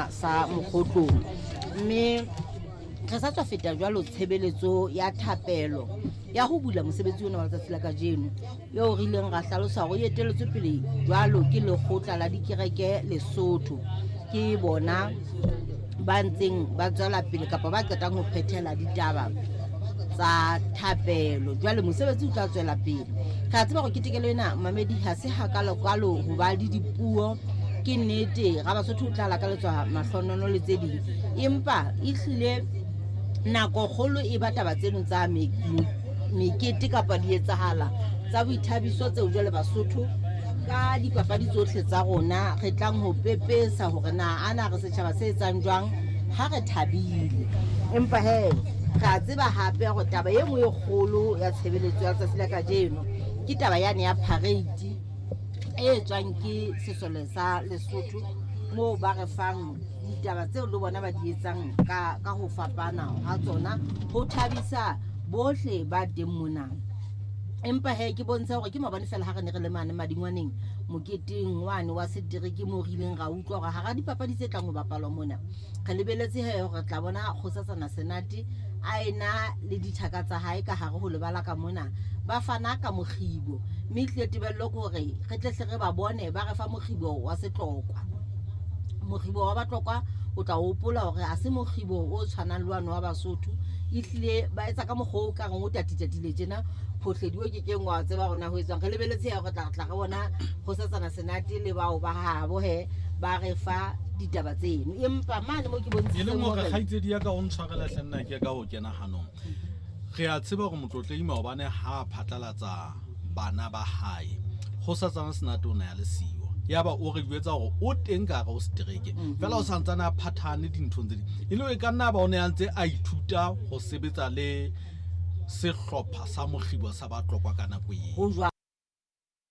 Sa mokgotlong mme re sa tswa feta jwalo tshebeletso ya thapelo ya ho bula mosebetsi ona wa letsatsi la kajeno, eo re ileng ra hlalosa hore e eteletswe pele jwalo ke lekgotla la dikereke Lesotho. Ke bona ba ntseng ba tswela pele kapa ba qetang ho phethela ditaba tsa thapelo. Jwale mosebetsi o tla tswela pele. Re a tseba gore ketekelo ena mamedi ha se hakalokalo ho ba le dipuo. Ke nnete Rabasotho o tla lakaletswa mahlonono le tse ding, empa ehlile nako kgolo e ba taba tseno tsa mekete kapa di etsahala tsa boithabiso tseo jwale Basotho ka dipapadi tsohle tsa rona re tlang ho pepesa hore na ana re setjhaba se etsang jwang ha re thabile. Empa he re a tseba hape hore taba e nngwe e kgolo ya tshebeletso ya letsatsi la kajeno ke taba yane ya parade e etswang ke sesole sa Lesotho, moo ba re fang ditaba tseo le bona ba di etsang ka, ka ho fapana ha tsona ho thabisa bohle ba teng mona. Empa he ke bontshe hore ke maobane fela ha re ne re le mane Madingwaneng moketeng wane wa setereke moo re ileng ra utlwa hore hara dipapadi tse tlang ho bapalwa mona, re lebeletse he hore re tla bona Kgosatsana Senate a ena le dithaka tsa hae ka hare ho lebala ka mona, ba fana ka mokgibo. Mme ehlile tebello ke hore re tle hle re ba bone ba re fa mokgibo wa Setlokwa. Mokgibo wa Batlokwa o tla hopola hore ha se mokgibo o tshwanang le wane wa Basotho. Ehlile ba etsa ka mokgwa o ka reng o tatitatile tjena, phohledi o kekeng wa tseba hore na ho etswang. Re lebeletse he hore tla tla re bona Kgosatsana Senate le bao ba habo he ba re fa ditaba tseno. Empa mane mo ke E leng bontshitseng hore hore kgaitsedi ya ka o ntshwarela hle nna ke ka ho kena hanong. Re a tseba hore Motlotlei maobane ha a phatlalatsa bana ba hae, Kgosatsana Senate o ne a le siyo. Yaba o re jwetsa hore o teng ka hare ho setereke, fela o santsane a phathahane dinthong tse ding. E le hore e ka nna ba o ne a ntse a ithuta ho sebetsa le sehlopha sa mokgibo sa Batlokwa ka nako eo. Ho jwalo.